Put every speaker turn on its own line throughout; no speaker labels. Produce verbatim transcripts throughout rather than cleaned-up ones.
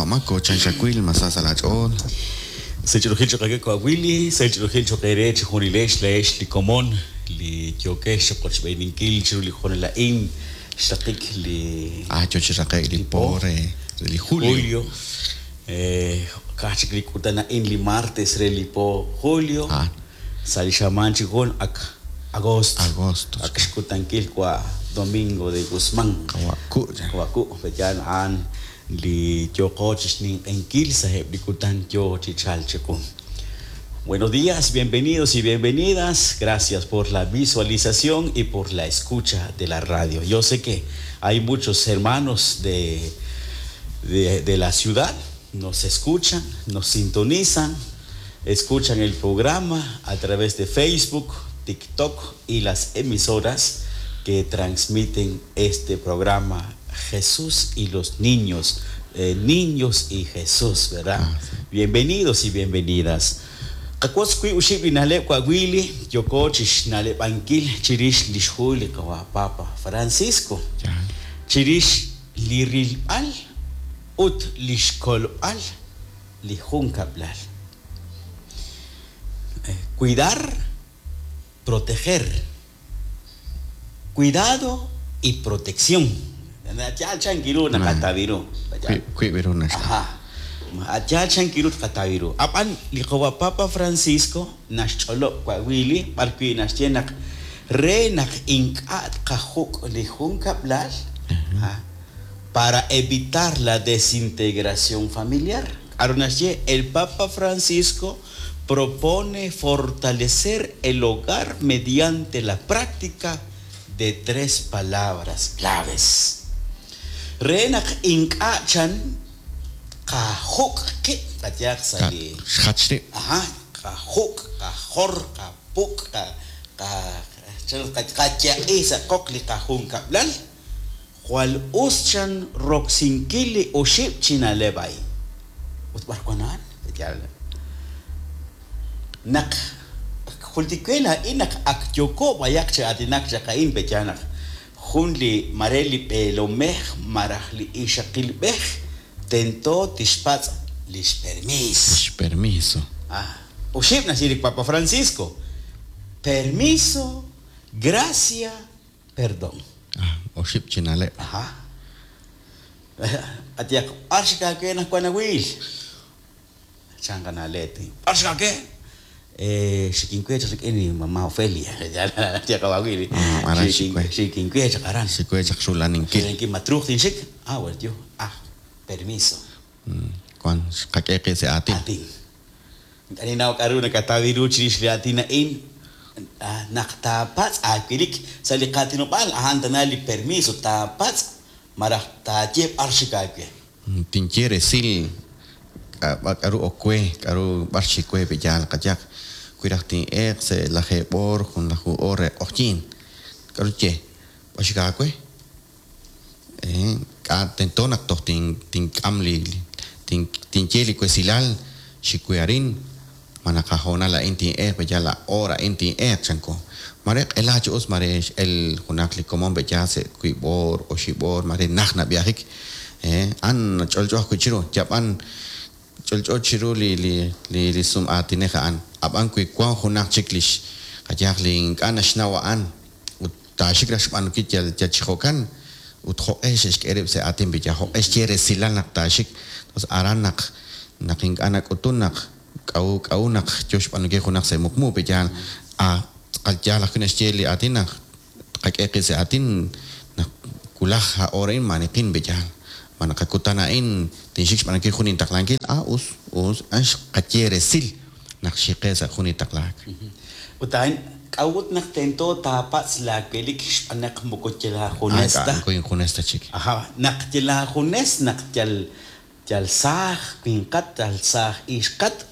Mako chan xawil masa sa' laach'ool.
Sech'orojil choq' aawe wa' Willy, sech'orojil choq' eere chi junilex laa'ex li komon li yookex chiqochb'eeninkil chiru li hoonal a'in xraqik li
Ah, yo chi raqe'k li po re re li julio.
julio. Eh, ka'aj chik li kutan a'in li martes re li po julio.
Ah.
Sa' li xamaan chi jun ak agosto.
Agosto.
Ak xkutankil wa' Domingo de Guzmán.
Qawa' ku'
Qawa' ku' pe'yaal a'an li yooqo chi xninq'ehinkil sa'eb' li kutan yoo chi chalk chiqu. Buenos días, bienvenidos y bienvenidas. Gracias por la visualización y por la escucha de la radio. Yo sé que hay muchos hermanos de, de, de la ciudad, nos escuchan, nos sintonizan, escuchan el programa a través de Facebook, TikTok y las emisoras que transmiten este programa Jesús y los niños, eh, niños y Jesús, ¿verdad?
Ah, sí.
Bienvenidos y bienvenidas. Qawotz wi' oxib' li na'leb' wa' Willy, yoko chixna'leb'ankil chirix li xhu li qawa' Papa Francisco,
Ya.
chirix li rilb'al ut li xkolb'al li junkab'lal. Eh, cuidar, proteger. Cuidado y protección. Yaal chankiru naqatawiru.
Wi' wiib' ru naxk'am.
Ajá. Yaal chankiru tqatawiru. Ab'an li qawa' Papa Francisco naxch'olob' wa' Willy b'ar wi' naxye naq re naq ink'a' tqajuk' li junkab'lal ah, para evitar la desintegración familiar. K'aru naxye el Papa Francisco propone fortalecer el hogar mediante la práctica de tres palabras claves. Re naq ink'a' chan qajuk' qib' qayaq sa' li
Xjach rib'.
Ajá, qajuk', qajor, qapuk', qa- qa- chan qa- qaya'i sa' qoq li qajunkab'lal jwal us chan roksinkil li oxib' chi na'leb' a'in. Ut b'ar wan a'an? Yaal. Naq jultik we a'in naq ak yoko b'ayaq chi aatinak chaq a'in pe'yaal naq jun li mare li b'eelomej malaj li ixaqilb'ej tento tixpatz' lix permiis.
Permiso.
Ah, oxib' naxye li Papa Francisco. Permiso, gracia, perdón.
Ah, oxib' chi na'leb'.
Ajá. Atiyak, b'ar xikaawe naq wan awiil. Chan qana'leb'. B'ar xikaawe? Eh, xikinwe chaq rik'in li mamá Ofelia. Atiyak awiil.
Ah, aran xikwe.
Xikinwe chaq aran.
Xikwe chaq xulaninkil.
Xikinwe matruuq tinxik. Ah, bueno, yo. Ah, permiso.
Mm, Wan xqak'e qib' sa' aatin.
Atin. Kaninaw k'aru nakatawiru chirix li aatin a'in ah, naq taapatz' aawilik sa' li qaatinob'aal a'an tana li permiso taapatz' malaj taaye b'ar xik aawe.
Mm, Tinye resil k'a- b'a- k'aru ok we, k'aru b'ar xikwe pe'yaal qayaq. Wi raj tin'eeq sa' lajeeb' oor, junlaju oor re q'oqyiin. K'aru ye? B'ar xik aawe? Eh, k'a tento naq toj tin- tink'am li tin- tinye li wesilal xikwe arin ma naq ajoonal a'in tin'eeq pe'yaal la hora a'in tin'eeq chanko. Mare q'ela chi us mare x'el junaq li komon pe'yaal sa' wiib' oor, oxib' oor, mare naj nab'iajik. Eh, an ch'olch'o ajwi' chiru, yab'an ch'olch'o chiru li li li li sum aatinej a'an. Ab'an wi wan junaq chik lix qayaq li ink'a' naxnaw a'an ut taaxik raj xb'aanunkil yal yal chi jo'kan ut jo'q'e xe'xk'e rib' sa' aatin pe'yaal jo'q'e xye resilal naq taaxik. Entonces aran naq naq ink'a' nak'utun naq k'a'u k'a'u naq yo xb'aanunkil junaq sa' muqmu pe'yaal ah tz'aqal yaal ajwi' naxye li aatin naq qak'e qib' sa' aatin naq wulaj a hora a'in maniqin pe'yaal. Ma naq akutan a'in tinxik xb'aanunkil jun intaqlankil ah us us an xqaye resil naq xiqe sa' jun intaqlaak.
Ut a'in k'a'ut naq tento taapatz' laawelik xb'aan naq moko yal aajunes ta.
Ah, ink'a' injunes ta chik.
Ajá, naq yal aajunes naq yal yal saaj winqat, yal saaj ixqat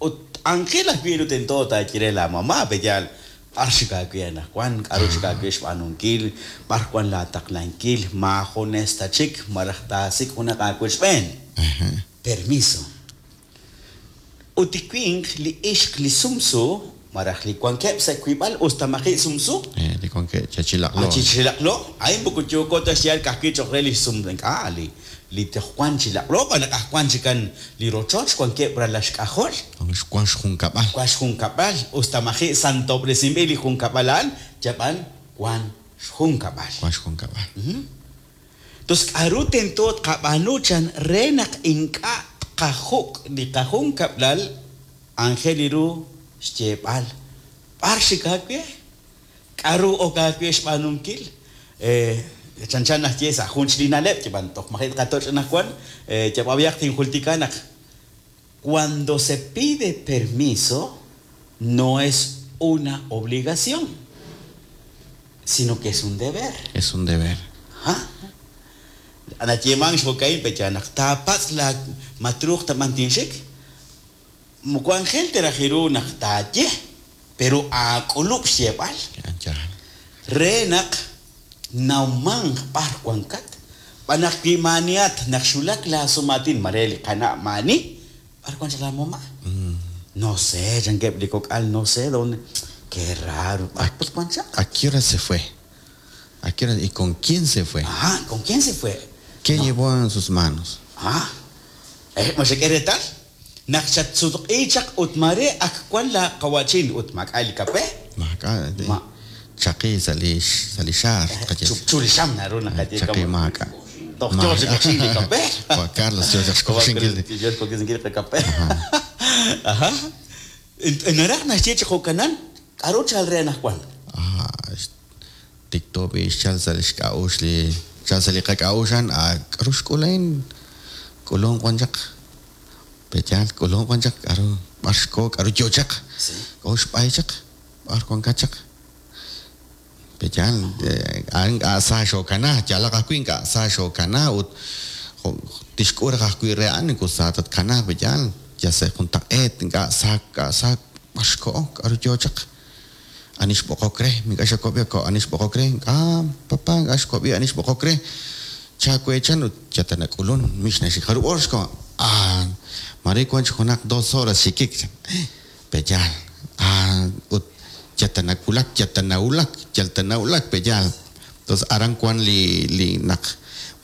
ut anjel ajwi' ru tento taaye re la mamá pe'yaal b'ar xik aawe anaqwan, k'aru xik aawe xb'aanunkil, b'ar wan laataqlankil, maajunes ta chik malaj taasik' junaq aawochb'een.
Ajá.
Permiso. Ut li winq li ixq li sumsu malaj li wankeb' sa' wiib'al us ta maji' sumsu.
Eh, li wankeb' chachilaqlo.
Ah, chichilaqlo. A'in moko yooko ta xyaal ka'ajwi' choq' re li sum ink'a' li li toj wan chi laq'lo b'an naq aj wan chikan li rochoch wankeb' ralaxk'ajol
wan xjunkab'al
wan xjunkab'al usta maji' santob'resinb'il li junkab'al a'an yab'an wan xjunkab'al
wan xjunkab'al
Tos k'aru tento tqab'aanu chan re naq ink'a' tqajuk' li qajunkab'lal aajel ru xyeeb'al b'ar xik aawe k'aru ok aawe xb'aanunkil eh, chanchan naxye sa' jun chik li na'leb' yab'an toj maji' tqatoch' anaqwan eh, yab'ab'iyaq tinjultika naq cuando se pide permiso no es una obligación sino que es un deber.
Es un deber.
Ha? Nayeemank xjo'ka'in pecha naq taapatz' la matruuq taman tinxik moko anjel te raj ru naq taaye pero aak'ulub' xyeeb'al
Yaal.
re naq nawmanq b'ar wankat b'an naq wi maaniat naq xulak laasumatin mare li qana' maani b'ar wan chaq la mamá no sé chankeb' li kok'al no sé dónde qué raro b'ar put wan chaq
¿A qué hora se fue? ¿A qué hora y con quién se fue?
ah ¿con quién se fue?
¿Qué
No.
llevó en sus manos?
Ah, eh, ma xak'e reetal naq xatsutq'i chaq ut mare ak wan la qawachin ut mak'a li kape
Maak'a
Ma.
chaqi sa' li sa' li xaar tqaye.
chupchu li xam naru naqaye
Chaqi maak'a.
Toj yoo chi koxin li kape
Juan Carlos yoo chaq xkoxinkil.
Yoo xkoxinkil li kape Ajá. Naraj naxye chi jo'kanan k'aru chal re anaqwan
Ah, tikto b'i xchal sa' li xk'a'uxl li xchal sa' li qak'a'uxan ah k'aru xk'ulain k'ulun wan chaq pechal k'ulun wan chaq k'aru b'ar xko k'aru yoo chaq
Sí.
k'o xb'ay chaq b'ar wankat chaq pechal a'an k'a sa xokana yalaq ajwi' k'a sa xokana ut jo- tixk'ul raj ajwi' re a'an sa tatkanaaq pechal ya se juntaq'eet ink'a' sa k'a sa b'ar xko'o k'aru yoo chaq ani xb'oqok re mink'a' xakob'i ko ani xb'oqok re ah papá ink'a' xkob'i ani xb'oqok re chakuechan ut yatanak'ulun mix naxik jarub' hor xko ah mare wan chik junaq dos horas xikik peyal ah ut yatanakulak yatanawulak yaltanawulak peyal entonces aran wan li li naq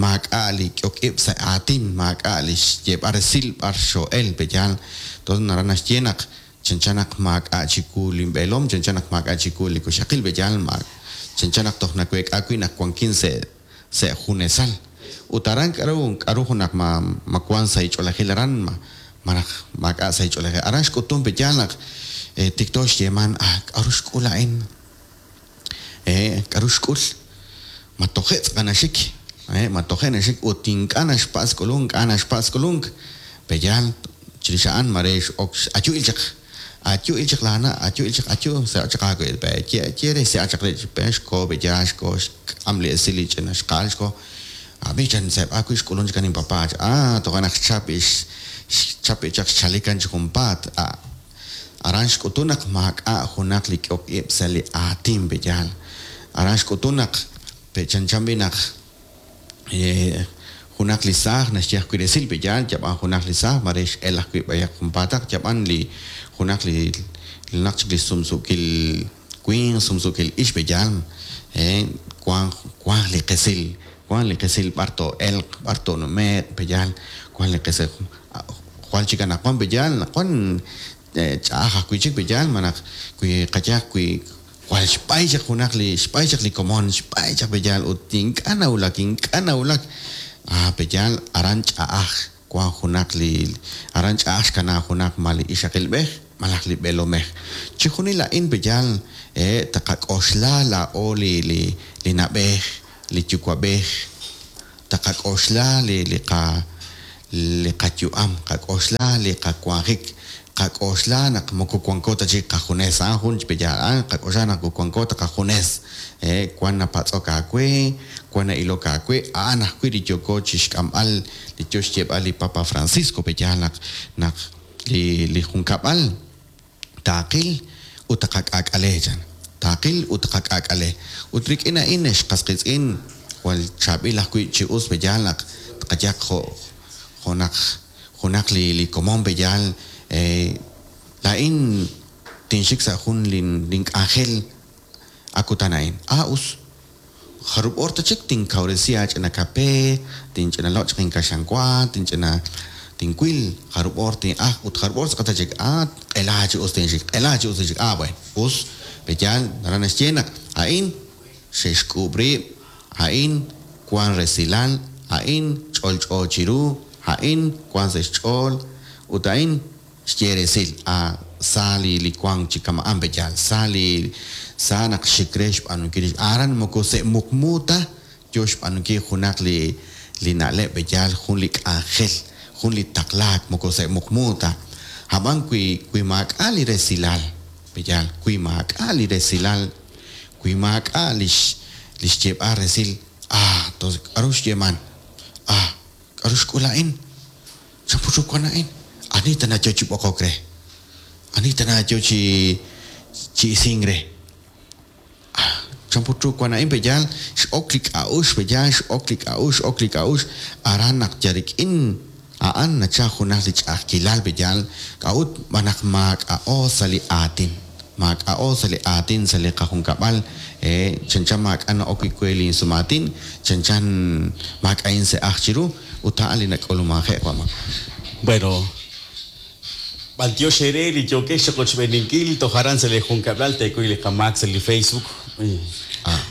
maak'a' li k'ok ib' sa' aatin maak'a' li xyeeb'al resil b'ar xo'el peyal entonces naran naxye naq chanchan naq maak'a' chiku linb'eelom chanchan naq maak'a' chiku li kuxaqil peyal ma chanchan naq toj naweek'a wi' naq wankin sa' sa' junesal ut aran k'aru k'aru junaq ma ma wan sa' ich'oolejil aran ma malaj maak'a' sa' ich'oolejil aran xk'utun peyal naq eh, tikto xyeeman ah k'aru xk'ul a'in eh k'aru xk'ul ma toje' tz'aqanaxik eh ma toje' naxik ut ink'a' naxpatz' k'ulunk ink'a' naxpatz' k'ulunk peyal chirix a'an mare x'ok ayu'il chaq ayu'il chaq laana ayu'il chaq ayu se'a chaq aawe pe ye ye re se'a chaq re pe xko peyal xko xk'am li esil li ch'ina xqaal xko abi chan seb'a wi' xk'ulun chik inpapá ah toja' naq xchap ix xchap chaq xchalikan chi junpaat ah aran xk'utun naq maak'a' junaq li k'ok ib' sa' li aatin peyal aran xk'utun naq pechanchan b'i naq eh, junaq li saaj naxye ajwi' resil peyal yab'an junaq li saaj mare x'el ajwi' b'ayaq junpaataq yab'an li junaq li naq chik li sumsukil winq sumsukil ix peyal eh, wan wan li qesil wan li qesil b'ar to'elq b'ar to'nume'q peyal wan li qesil jwal chik anaqwan peyal naqwan eh, ch'a'aj ajwi' chik peyal malaj wi qayaj wi jwal xb'ay chaq junaq li xb'ay chaq li komon xb'ay chaq peyal ut ink'a' nawulak ink'a' nawulak ah peyal aran ch'a'aj wan junaq li aran ch'a'aj xkanaa junaq ma li ixaqilb'ej malaj li b'eelomej chijunil a'in peyal eh taqak'oxla laa'o li li li na'b'ej li yuwa'b'ej taqak'oxla li li qa li qayu'am qak'oxla li qawanjik qak'oxla naq moko wanko ta chik qajunes a'an jun peyal a'an qak'oxla naq wanko ta qajunes eh wan napatz'ok aawe wan na'ilok aawe a'an ajwi' li yooko chixk'amb'al li yoo xyeeb'al li Papa Francisco peyal naq naq li li junkab'al taaqil ut taqak'aak'ale chan taaqil ut taqak'aak'ale ut rik'in a'in xqasqitz'in jwal chaab'il ajwi' chi us peyal naq tqayaq jo' junaq junaq li li komon peyal eh, laa'in tinxik sa' jun lin link'anjel akutan a'in ah us jarub' hor ta chik tinkawresi aach'ina kape, tinch'ina loq' chaq inkaxlanwa, tinch'ina tinwil jarub' hor tin'aj ut jarub' hor tz'aqal ta chik ah q'ela chi us tinxik, q'ela chi us tinxik, ah bueno, us pe'yaal naraj naxye naq a'in xe'xk'uub' rib', a'in wan resilal, a'in ch'olch'o chiru, a'in wan sa' xch'ool ut a'in xye resil ah sa li li wank chi kama'an pe'yaal, sa li sa naq xik re xb'aanunkil aran moko se' muqmu ta yo xb'aanunkil junaq li li na'leb' pe'yaal jun li k'anjel, jun li taqlaak moko se' muqmu ta. Ab'an wi wi maak'a' li resilal pe'yaal, wi maak'a' li resilal, wi maak'a' lix lix xyeeb'al resil ah tonces k'aru xyeeman, ah k'aru xk'ul a'in, chan put ru wan a'in, ani tana yo chi b'oqok re, ani tana yo chi chi isink re, ah chan put ru wan a'in pe'yaal x'ok li k'a'uxl pe'yaal x'ok li k'a'uxl x'ok li k'a'uxl aran naq yal rik'in a'an nachal junaq li ch'a'ajkilal pe'yaal k'a'ut xb'aan naq maak'a'o sa' li aatin, maak'a'o sa' li aatin sa' li qajunkab'al eh chanchan maak'a' na'ok wi' we linsumaatin, chanchan maak'a'in se'aj chiru ut a'an li nak'ulumanje' wama.
Bueno, b'antiox eere li yookex chiqochb'eeninkil toj aran sa' li junkab'lal teekuy li qamaak sa' li Facebook.
Ah.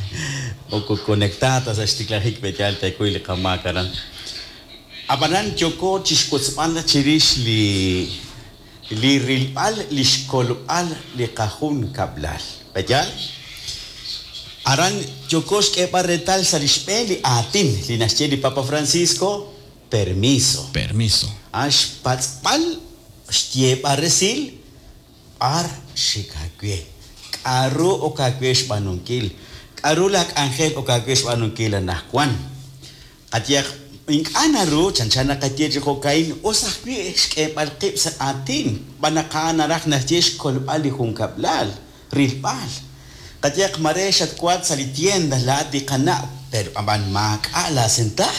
Moko conectada sa' xtiklajik pe'yaal teekuy li qamaak aran. Ab'anan yooko chixwotzb'al chirix li li rilb'al li xkolb'al li qajunkab'lal. Pe'yaal? Aran yooko xk'eeb'al reetal sa' li xb'een li aatin li naxye li Papa Francisco, permiso.
Permiso.
Ah, xpatz'b'al xyeeb'al resil b'ar xik aawe. K'aru ok aawe xb'aanunkil, k'aru laak'anjel ok aawe xb'aanunkil anaqwan. Qayehaq ink'a' naru chanchan naqaye chi jo'ka'in us ajwi' xk'eeb'al qib' sa' aatin xb'aan naq a'an naraj naxye xkolb'al li junkab'lal, rilb'al. Qayehaq mare xatwank sa' li tienda laa'at li qana' pero ab'an maak'a' laasenta.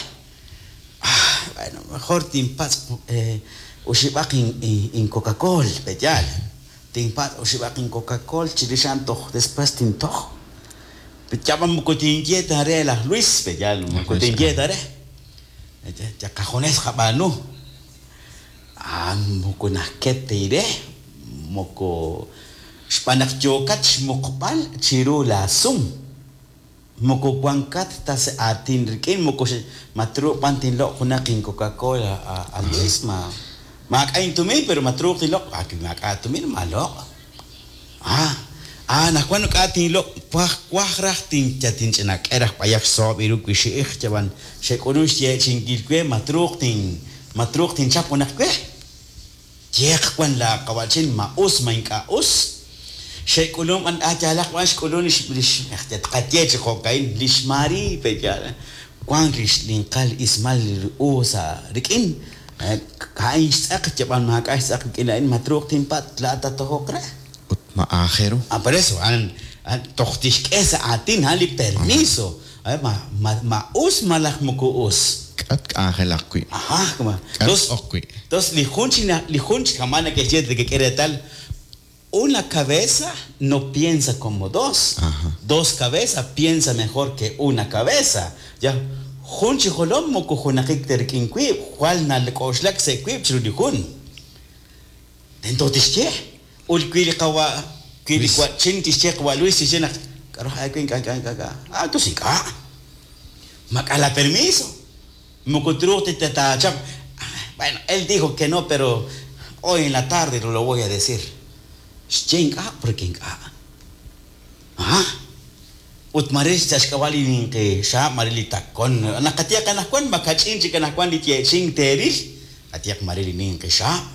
Ah, bueno, mejor tinpatz' eh, oxib'aq in Coca-Cola, pe'yaal. Tinpatz' oxib'aq in Coca-Cola chirix a'an toj después tintoj. Yab'an moko tinye ta re laj Luis, pe'yaal, moko tinye ta re. Ya qajunes qab'aanu. Ah, moko najket ire, moko xb'aan naq yookat xmuqb'al chiru laasum. Moko wankat ta sa' aatin rik'in, moko matruuq b'an tinloq' junaq in Coca-Cola a Luis, ma maak'a' intumin pero matruuq tinloq', ah maak'a' tumin maloq'. Ah, ah anaqwan k'a' tinloq' waj waj raj tin tinch'ina k'e raj b'ayaq xsoob' iru wixi'ij chab'an xek'ulun xyeechi'inkil we matruuq tin matruuq tinchap junaq we. Yeq wan la qawa'chin ma us ma ink'a' us. Xek'ulun b'an ah yaalaq b'an xk'ulun lix lix tqaye chi jo'ka'in lix Mari pe'yaal wank lix ninqal ismal u sa' rik'in ka'in xtz'aq yab'an maak'a' xtz'aq rik'in a'in matruuq tinpatz' laa'at tatojoq re.
Ut ma aajel ru.
Ah, por eso, a'an toj tixk'e sa' aatin a'an li permiso. Ma, ma, ma us malaj moko us.
K'at k'anjelaq wi'.
Ajá, como
K'at ok wi'.
Entonces, li jun chi li jun chi kama neke'xye nekek'e reetal una cabeza no piensa como dos.
Ajá.
Dos cabezas piensa mejor que una cabeza. Ya, jun chi jolom moko junaqik ta rik'in wiib', jwal nalk'oxlak sa' wiib' chiru li jun. Tento tixye. Ut wi li qawa' wi li
Luis.
wa'chin tixye qawa' Luis tixye naq k'aru aawe ink'a' ink'a' ink'a' ink'a'. Ah, entonces ink'a'. Maak'a' la permiso. Moko truuq ta taachap. Bueno, él dijo que no, pero hoy en la tarde lo voy a decir. Xye ink'a' porque ink'a'. Ah. Ut mare sa' xk'ab'a' li ninqi xaab' mare li takon. Naqatiaq anaqwan makach'in chik anaqwan li yeeching teeril. Atiaq mare li ninqi xaab'.